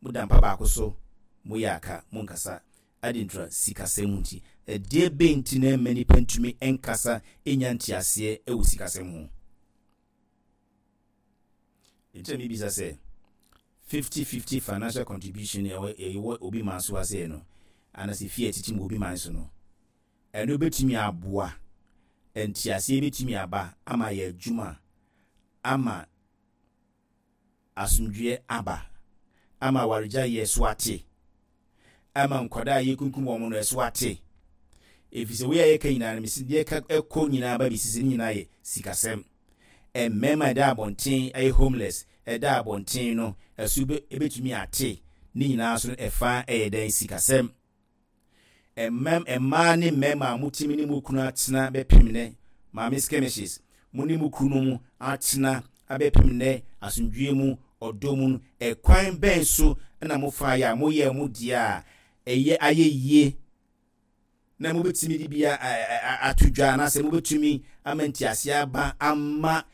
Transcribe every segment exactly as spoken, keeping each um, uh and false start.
Moda mpa baako so, moyɛ aka, monkasa. Adi ntura sikasɛm nti. Ɛdeɛ bɛn nti na ɛmma nipa ntumi nkasa nya nteaseɛ wɔ sikasɛm ho? Nti na mebisa sɛ fifty fifty financial contribution ɛwɔ ɛwɔ obi man so aseɛ no, anaasɛ fie a ɛtete mu obi man so no, ɛno bɛtumi aboa, nteaseɛ bɛtumi aba ama yɛ adwuma, ama asomdwoeɛ aba, ama awaregyaeɛ so ate, ama nkwadaa a yɛkunkum wɔn no ɛso ate, ɛfiri sɛ wei a yɛka nyinaa no, mesi deɛ ɛka ɛkɔ nyinaa ba bɛsisi ne nyinaa yɛ sikasɛm. Mmarima ɛda abɔnten ɛyɛ homeless, ɛda abɔnten no ɛso ɛbɛtumi ate ne nyinaa so no, ɛfa ɛyɛ dɛn? Sikasɛm. Mmɛm mmaa ne mmarima a motumi ne mo kunu atena bɛpem nɛ, maame skirmishes, mo ne mo kunu mu atena abɛpem nɛ asomdwie mu, ɔdɔ mu no, ɛkwan bɛn so ɛna mofa yɛ a moyɛ mo deɛ a ɛyɛ ayɛ yie na mobɛtumi de bi ato dwa, anaasɛ mobɛtumi ama nteaseɛ aba ama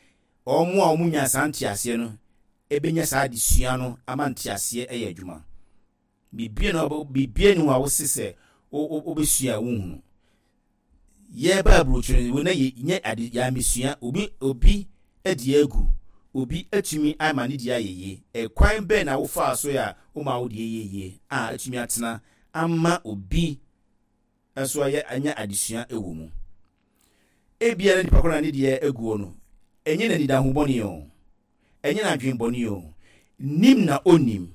ɔmo a ɔmo nya saa nteaseɛ no ɛbɛnya saa adesua no ama nteaseɛ ɛyɛ adwuma? Bibie no, bibie no a wose sɛ wobɛsua a wohunu. Yɛba aburokyire no na yɛ ade yɛamesua. Obi obi adi agu, obi atumi ama ne deɛ ayɛ yie. Ɛkwan bɛn na wofaa so a woma wo deɛ yɛ yie a atumi atena ama obi nso ayɛ anya adesua wɔ mu? Ebia na nipa koro na ne deɛ aguo no, ɛnyɛ n'anidaho bɔne o, ɛnyɛ n'adwen bɔne o, nim na onim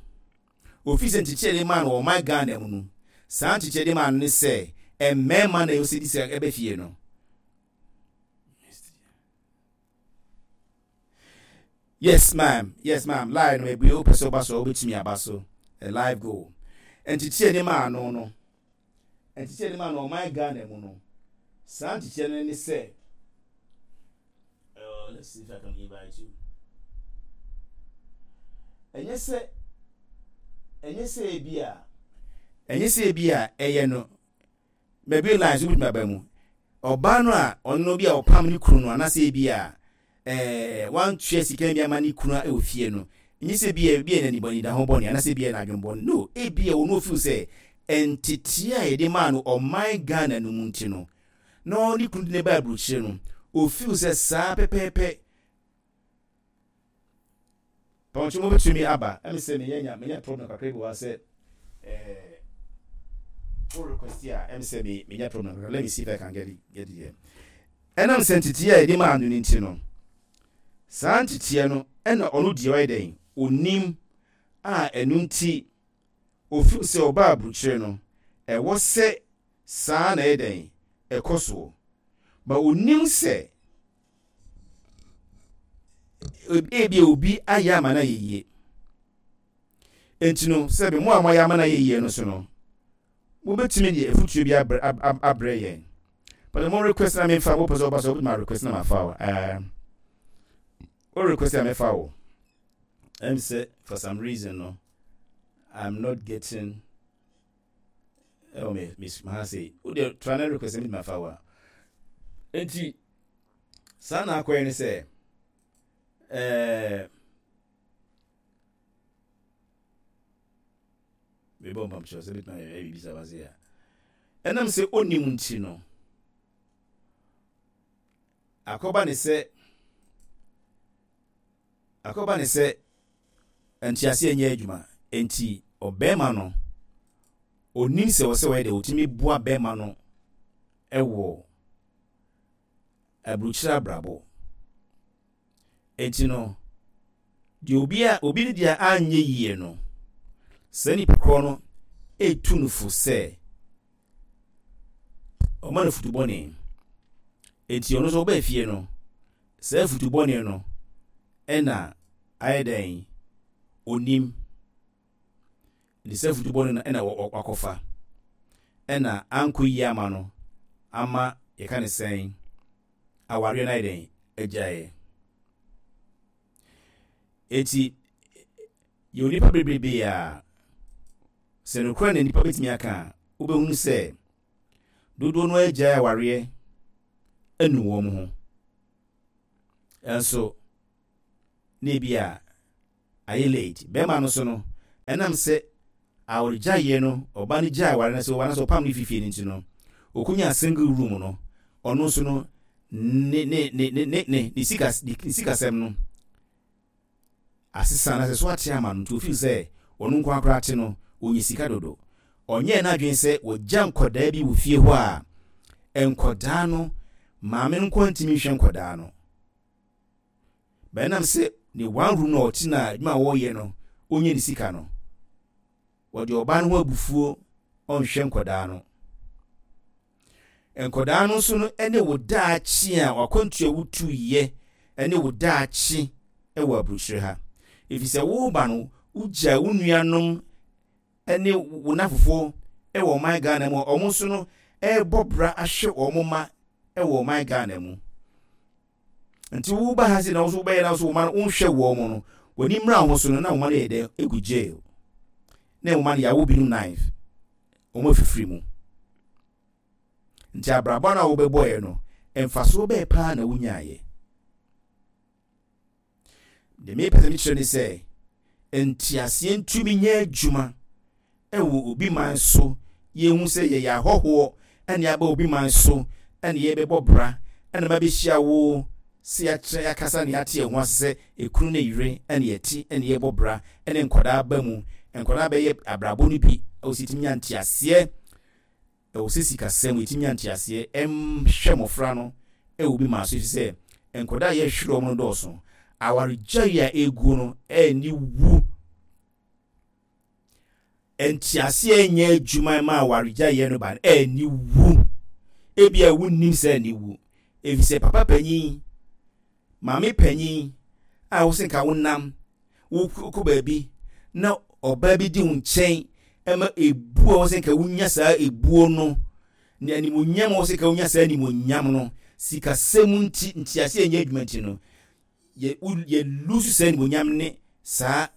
ofi sɛ nkyekyere de maa no wɔ ɔman Ghana mu no, saa nkyekyere de maa no ne sɛ mmarima na ɛwɔ di sɛ ɛbɛ fie no. Yes ma'am, yes ma'am. Line no ebue, wopɛ sɛ ɔba so a, wobɛtumi aba so. A live go. Nkyekyere de maa no no nkyekyere de maa no ɔman Ghana mu no, saa nkyekyere no ne sɛ, uh, let's see if I can invite you. ɛnyɛ sɛ ɛnyɛ sɛ ebi a ɛnyɛ sɛ ebi a ɛyɛ no baabi line so wobɛtumi aba mu. Ɔbaa no a ɔno bi a ɔpam ne kunu no, anaasɛ ebi a ɛɛ wantua sika bi ama ne kunu a ɛwɔ fie no, ɛnyɛ sɛ bi a ebi a n'anibɔne da ho bɔne anaasɛ ebi a n'adwene bɔne no. Ebi a ɔno ofeel sɛ nteteɛ a yɛde maa no ɔman Ghana no mu nti no, na ɔne kunu de ne ba aburokyire no, ofeel sɛ saa pɛpɛɛpɛ. Pɔnkye mo bɛtumi aba. Ɛmi sɛ meyɛ nya menya problem kakra bi wɔ ha sɛ ɛɛ wo request a, ɛmi sɛ me menya problem kakra. Let me see if I can get it get it here. Ɛnam sɛ nteteɛ a yɛde maa no no nti no, saa nteteɛ no ɛna ɔno deɛ ɔyɛ dɛn onim a, ɛno nti ofeel sɛ ɔbaa aburokyire no, ɛwɔ sɛ saa na ɛyɛ dɛn ɛkɔ soɔ, ba onim sɛ ebi obi ayɛ ama no ayɛ yie. Nti no, sɛbi mo a moayɛ ama no ayɛ yie no so no, mobɛtumi de afutuo bi abrɛ abrɛ yɛn. But mo request na memfa, wopɛ sɛ woba so, wobɛtumi request na mafa wo. ɛɛ wo request a, mefa wo. Ɛm sɛ for some reason no, I'm not getting ɛwɔ me me ha sɛ wode try na request mi mafa wo a. Nti saa na akɔyɛ ne sɛ ɛɛ mebɔ mpamkyerɛ sɛ bɛtumi ayɛ biribi sɛ wase a, ɛnam sɛ ɔnim nti no, akɔba ne sɛ akɔba ne sɛ nteaseɛ nyɛ adwuma. Nti ɔbɛrima no onim sɛ ɔsɛ ɔyɛ deɛ ɔtumi boa bɛrima no ɛwɔ aburukyerɛ abrabɔ. Nti no, deɛ obi a obi ne deɛ anyɛ yie no, saa nipa korɔ no etu no fo sɛ ɔma no futu bɔne. Nti ɔno nso ɔbaa fie no, saa futu bɔne no ɛna ayɛ dɛn onim ne saa futu bɔne no ɛna wakɔfa, ɛna ankɔ yie ama no, ama yɛka ne sɛn, awareɛ no ayɛ dɛn agyaeɛ. Eti yɛ onipa bebrebe a sɛ nokora na nipa bɛtumi aka a, wobɛhunu sɛ dodoɔ no agyae awareɛ anu wɔn ho, ɛnso na ebi a ayɛ late. Bɛrima no so no Ɛnam sɛ awaregyaeɛ no, ɔbaa no gyae aware no sɛ ɔbaa no sɛ ɔpam no fifie no nti no, ɔkɔnyaa single room no, ɔno nso no, ne ne ne ne ne ne ne sika ne sikasɛm no asesa na sɛ so ate ama no, nti ofeel sɛ ɔno nko akora te no, ɔnyɛ sika dodo. Ɔnyɛɛ n'adwene sɛ wɔgya nkɔdaa bi wɔ fie hɔ a, nkɔdaa no, maame no nko ntumi nhwɛ nkɔdaa no. Bɛnam sɛ ne one room na ɔte na adwuma a wɔreyɛ no, ɔnyɛ ne sika no, wɔde ɔbaa no ho abufuo, ɔnhwɛ nkɔdaa no. Nkɔdaa no nso no ne wo daakye a wakwantu a wotuyɛ ne wo daakye wɔ aburokyire ha. Ɛfiri sɛ woba no, wogya wo nuanom ne wo nafofoɔ wɔ ɔman Ghana mu a wɔn nso no ɛrebɔ bra ahwɛ wɔn mma wɔ ɔman Ghana mu. Nti woba ha sɛ na wo nso wobɛyɛ na wo nso wo mma no wonhwɛ wɔn no, w'ani mmra ho so no na wo mma no yɛ dɛ egu jail. Na wo mma no yɛawo binom knife, wɔn afifiri mu. Nti abrabɔ no a wobɛbɔeɛ no, mfasoɔ bɛɛ paa na wonyaeɛ? Deɛ mepɛ sɛ mekyerɛ ne sɛ, nteaseɛ ntumi nyɛ adwuma ɛwɔ obi man so. Yɛhu sɛ yɛyɛ ahɔhoɔ ɛne aba obi man so ɛne yɛbɛbɔ bra ɛna ma bɛhyia wo sɛ yɛakyerɛ, yɛakasa ne yɛate yɛn ho ase sɛ ekunu ne yere ɛne yɛte ɛne yɛbɔ bra ɛne nkwadaa ba mu, nkwadaa bɛyɛ abrabɔ no bi ɛwɔ sɛ yɛtumi nya nteaseɛ. Ɛwɔ sɛ sikasɛm yɛtumi nya nteaseɛ ɛmhwɛ mmɔfra no ɛwɔ obi man so, ɛfiri sɛ nkwadaa a yɛhwere wɔn no dɔɔso. Awaregyaeɛ a ɛguo no ɛni wu. Nteaseɛ nyɛ adwuma ma awaregyaeɛ no ba no ɛni wu. Ebia wonnim sɛ ɛni wu, ɛfiri sɛ papa panyin, maame panyin a wo sɛ nka wonam wokɔ baabi na ɔbaa bi di wo nkyɛn ɛma ebuo a wɔ sɛ nka wonya saa ebuo no ne animonyam a wɔ sɛ nka wonya saa animonyam no, sikasɛm nti, nteaseɛ nyɛ adwuma nti no, yɛ yɛ lose saa animonyam ne saa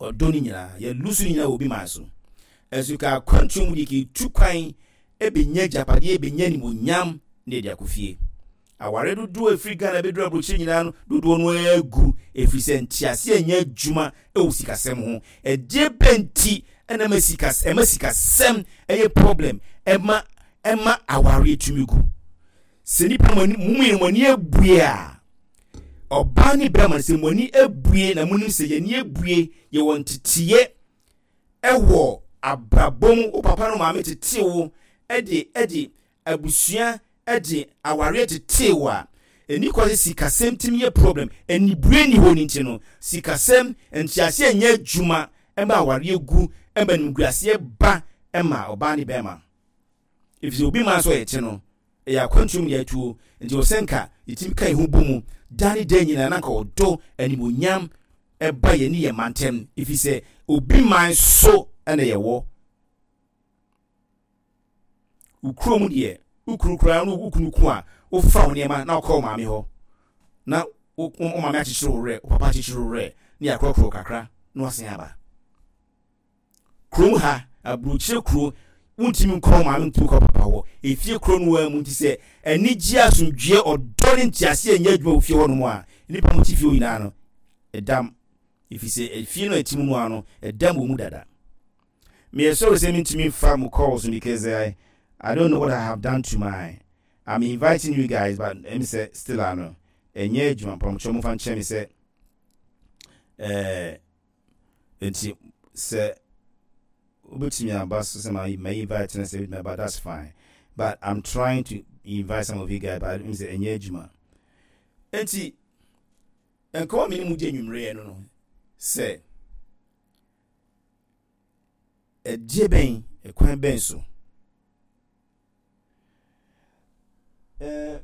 ɔdɔ no nyinaa. Yɛ lose no nyinaa wɔ obi man so. Ɛnso ka akwantuo mu deɛ, ka etu kwan ebenya agyapadeɛ, ebenya animonyam na yɛde akɔ fie. Aware dodoɔ a ɛfiri Ghana bɛduru aburokyire nyinaa no, dodoɔ no agu, ɛfiri sɛ nteaseɛ nyɛ adwuma wɔ sikasɛm ho. Ɛdeɛ bɛ nti ɛna ɛma sika ɛma sikasɛm ɛyɛ problem ɛma ɛma awareɛ tumi gu? Sɛ nipa mo ani mo mmienu mo ani abue a, ɔbaa ne bɛrima, sɛ mo ani abue na mo nim sɛ yɛn ani abue, yɛwɔ nteteɛ ɛwɔ abrabɔ mu, wo papa no maame tete wo ɛde ɛde abusua ɛde awareɛ tetee wo a, ɛni kɔ sɛ sikasɛm tumi yɛ problem. Anibue ni hɔ no nti no, sikasɛm nteaseɛ nyɛ adwuma ɛma awareɛ gu, ɛma nimguaseɛ ba ɛma ɔbaa ne bɛrima, ɛfiri sɛ obi maa nso ɔyɛ te no ɛyɛ akwantuom ne atuo. Nti ɔsɛ nka yɛtumi ka yɛn ho bɔ mu da ne da nyinaa na nka ɔdɔ animonyam ɛba yɛn ne yɛn mantam, ɛfiri sɛ obi man so ɛna yɛwɔ. Wo kurom deɛ, wo kunu koraa no, wo kunu ko a, wofa wo nneɛma na wokɔ wo maame hɔ na wo wo maame akyekyere wo werɛ, wo papa akyekyere wo werɛ ne yɛakorɔkorɔ kakra na wasan aba kurom ha. Aburokyire kuro, wontumi nkɔ wo maame, ntumi nkɔ papa hɔ. Efie kuro no ara mu nti sɛ anigye, asomdwoeɛ, ɔdɔ ne nteaseɛ nyɛ adwuma wɔ fie hɔ nom a, nnipa mo te fie hɔ nyinaa no ɛdam, ɛfiri sɛ efie no a ɛte mu no ara no ɛdam wɔ mu dada. Meyɛ sorry sɛ mentumi mfa mo calls no because I, I don't know what I have done to my, I'm inviting you guys, but ɛmi sɛ still ano ɛnyɛ adwuma. Mpamkyɛw, momfa nkyɛn me sɛ ɛɛ nti sɛ wobɛtumi aba so sɛ ma ma invite no sɛ wobɛtumi aba, that's fine, but I'm trying to invite some of you guys, but ɛmi sɛ ɛnyɛ adwuma. Nti nkɔmɔ mi ne mu gye nwummerɛ no no sɛ ɛdeɛ bɛn, ɛkwan bɛn so ɛɛ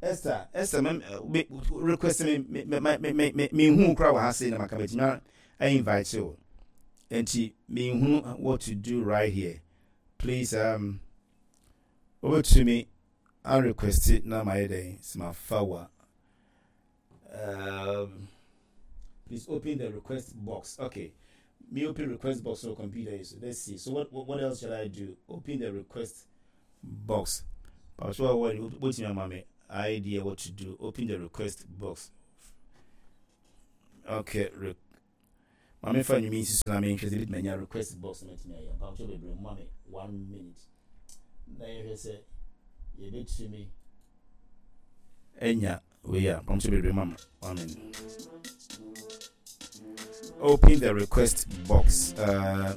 Esther, Esther, mɛ request me me me me me me me hu kora wɔ ha sei na maka mɛtumi a invite o, nti me hu what to do right here. Please, um wobɛtumi a request na ma yɛ dɛn sɛ ma fa wa. um, please open the request box. Okay, me open request box on computer. So let's see. So what, what what else should I do? Open the request box. So what what your mommy idea what to do? Open the request box. Okay. Re Ma memfa nnwom yi nsi so na menhwɛ sɛ ebɛtumi anya request box na matumi ayɛ. Mpakyɛw bebree, mma me one minute na yɛhwɛ sɛ yɛbɛtumi anya wei a. Mpakyɛw bebree, ma me one minute. Open the request box. Uh,